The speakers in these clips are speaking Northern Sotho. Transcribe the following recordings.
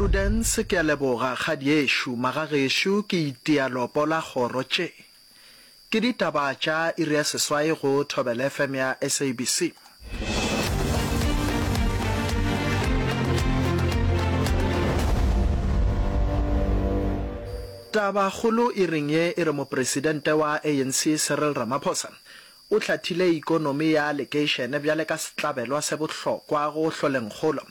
Prudence, Ke a leboga, kgadiešo. Magagešo, ke itia lopo la kgoro tše. Ke ditaba tša iri ya seswai go Thobela FM ya SABC. Tabakgolo iring ye e re Mopresidente wa ANC Cyril Ramaphosa o hlathile ikonomi ya lekeišene bjale ka setlabelwa se bohlokwa go hloleng kgolo.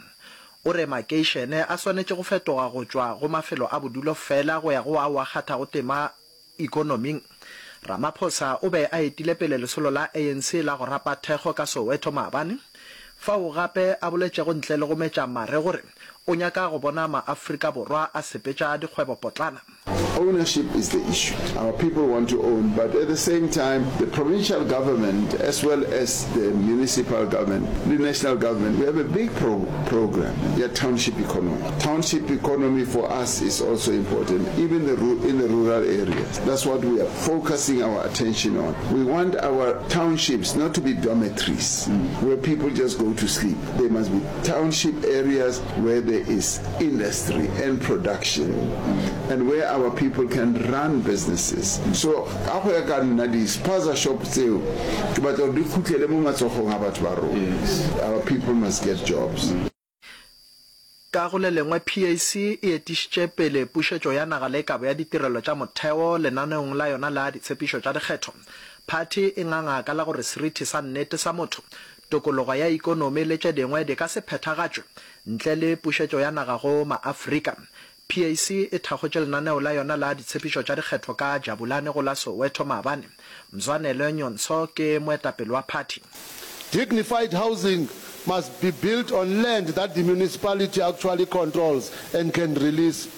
O re makeišene a swanetše go fetoga go tšwa go mafelo a bodulo fela go ya go ao a kgathago tema ikonoming. Ramaphosa o be a etile pele lesolo la ANC la go rapa thekgo ka Soweto maabane, fao gape a boletšego ntle le go metša mare gore o nyaka go bona maAfrika Borwa a sepetša dikgwebopotlana. Ownership is the issue. Our people want to own, but at the same time, the provincial government as well as the municipal government, the national government, we have a big pro program, ya township economy. Township economy for us is also important, even the in the rural areas. That's what we are focusing our attention on. We want our townships not to be dormitories where people just go to sleep. They must be township areas where there is industry and production and where our people can run businesses. So ka go ya ka nna di-spaza shop tseo ke batla gore di khutlele mo matsogong a batho ba rona. Our people must get jobs. Ka go le lengwe, PAC e etišitše pele pušetšo ya naga le kabo ya ditirelo tša motheo lenaneong la yona la ditshepišo tša dikgetho. Phathi e nganga ka la gore seriti sa nnete sa motho, tokologo ya ikonomi le tše dingwe di ka se phethagatšwe ntle le pušetšo ya naga go maAfrika. PAC e thakgotše lenaneo la yona la ditshepišo tša dikgetho ka Jabulani go la Soweto maabane. Mzwanele Nyontsho ke moetapele wa phathi. Dignified housing must be built on land that the municipality actually controls and can release.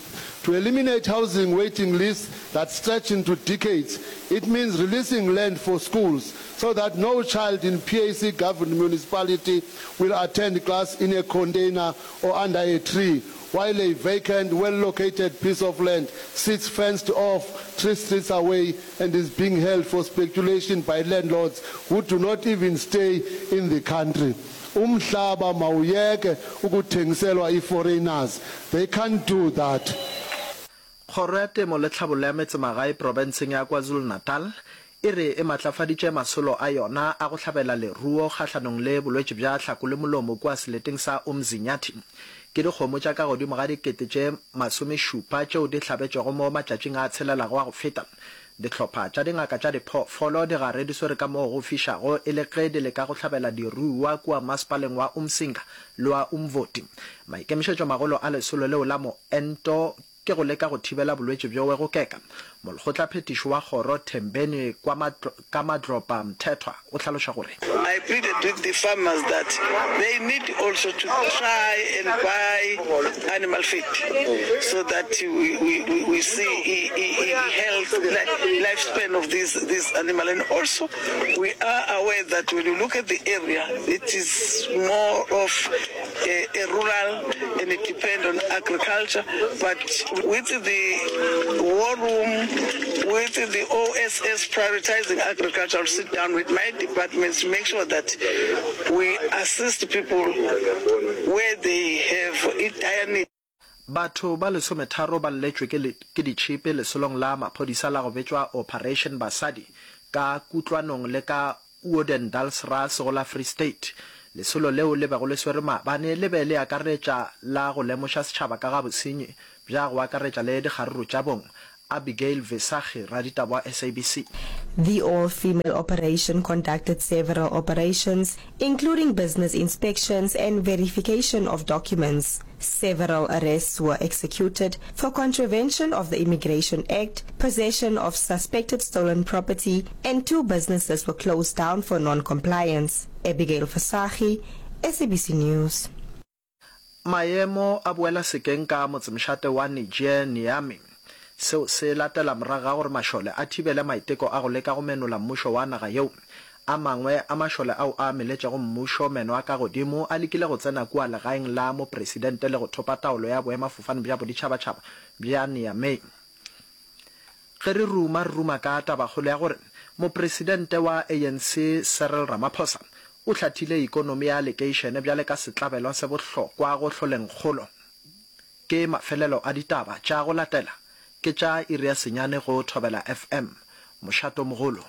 To eliminate housing waiting lists that stretch into decades, it means releasing land for schools so that no child in PAC-governed municipality will attend class in a container or under a tree while a vacant, well-located piece of land sits fenced off three streets away and is being held for speculation by landlords who do not even stay in the country. Umhlaba mawuyeke ukuthengiselwa i-foreigners. They can't do that. Kgoro ya Temo le Tlhabollo ya Metsemagae profenseng ya KwaZulu-Natal e re e matlafaditše masolo a yona a go hlabela leruo kgahlanong le bolwetši bja hlako le molomo kua seleteng sa Umzinyathi. Ke dikgomo tša ka godimo ga dikete tše masomešupa tšeo di hlabetšwego mo matšatšing a tshelelago a go feta. Dihlopha tša dingaka tša diphoofolo di gare di swere ka moo go fišago e le ge di leka go hlabela diruiwa kua masepaleng wa Umsinga le wa Umvoti. Maikemišetšomagolo a lesolo leo la moento ke go leka go thibela bolwetši bjowe go keka. Molekgotlaphethiši wa kgoro Thembeni Kamadlopa Mthethwa o hlaloša gore. I pleaded with the farmers that they need also to try and buy animal feed so that we, we, we see health, lifespan of this, this animal. And also we are aware that when you look at the area, it is more of a, a rural and it depends on agriculture. But with the war room, with the OSS prioritizing agriculture, I'll sit down with my departments to make sure that we assist people where they have a dire need. Batho ba lesometharo ba lletšwe ke ke ditšhipi lesolong la maphodisa la go betšwa Operation Basadi ka kutlwanong le ka Odendaalsrus go la Free State. Lesolo leo le bego le swere maabane le be le akaretša la go lemoša setšhaba ka ga bosenyi bja go akaretša le dikgaruru tša bong. Abigail Visagie, raditaba wa SABC. The all-female operation conducted several operations, including business inspections and verification of documents. Several arrests were executed for contravention of the Immigration Act, possession of suspected stolen property, and two businesses were closed down for non-compliance. Abigail Visagie, SABC News. Maemo a boela sekeng ka motsemošate wa Niger, Niamey. Seo se latela morago ga gore mašole a thibele maiteko a go leka go menola mmušo wa naga yeo. A mangwe a mašole ao a meletšego mmušo meno a ka godimo a lekile go tsena kua legaeng la mopresidente le go thopa taolo ya boemafofane bja boditšhabatšhaba bja Niamey. Ge re ruma, re ruma ka tabakgolo ya gore Mopresidente wa ANC Cyril Ramaphosa o hlathile ikonomi ya lekeišene bjale ka setlabelwa se bohlokwa go hloleng kgolo. Ke mafelelo a ditaba tša go latela ke tša iri ya senyane go Thobela FM. Mošatomogolo.